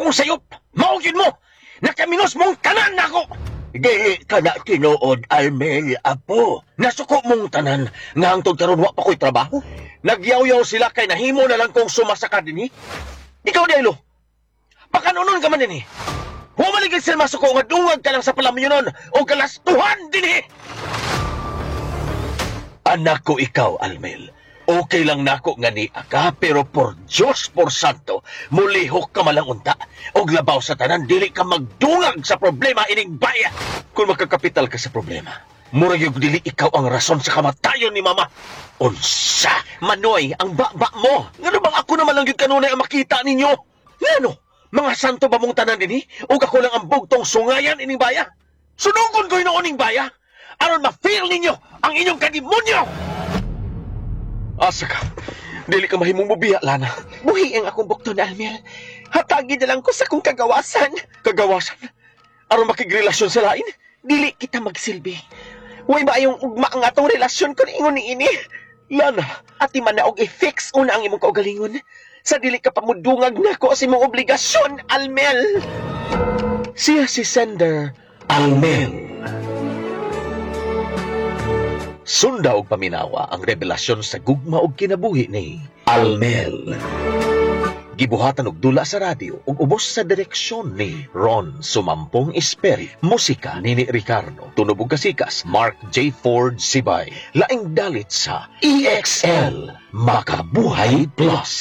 akong sayop. Mao gyud mo. Nakaminos mong tanan nako. Dili ka na tinuod, Almel, apo. Nasuko mong tanan nga hangtod karon wa pa ko'y trabaho. Nagyaw-yaw sila kay nahimo na lang kong sumasaka dinhi. Ikaw, Daylo. Pakanunon ka man dinhi. Humaligid sila masuko nga dungag ka lang sa palamyonon o kalastuhan dinhi. Anak ko ikaw, Almel. Okay lang nako nga ni ka, pero por Diyos, por Santo, mulihok ka malang unta. Og labaw sa tanan, dili ka magdungag sa problema ining baya. Kung makakapital ka sa problema, murag yung dili ikaw ang rason sa kamatayon ni Mama. Unsa? Manoy, ang baba mo. Ngano bang ako naman lang yun kanunay ang makita ninyo? Ngano? Mga santo ba mong tanan dinhi? O ako lang ang bugtong sungayan ining baya? Sunugon ko hinuon ning baya? Aron ma-feel ninyo ang inyong kadimonyo! Asa ka? Dili ka mahimong mubiya, Lana. Buhi ang akong bukton, Almel. Hatagi na lang ko sa akong kagawasan. Kagawasan? Aron makigrelasyon sa lain? Dili kita magsilbi. Way ba yung ugma ang atong relasyon kung ingon ni ini? Lana, Ati man na og i-fix una ang imong kaugalingon. Sa dili ka pamudungag nako sa imong obligasyon, Almel. Siya si sender Almel. Sunda og paminawa ang revelasyon sa gugma og kinabuhi ni Almel. Gibuhatan og dula sa radyo ug ubos sa direksyon ni Ron Sumampong Esperi. Musika Nini Ricardo, tunog ug kasikas Mark J. Ford Sibay. Laing dalit sa EXL Makabuhay Plus.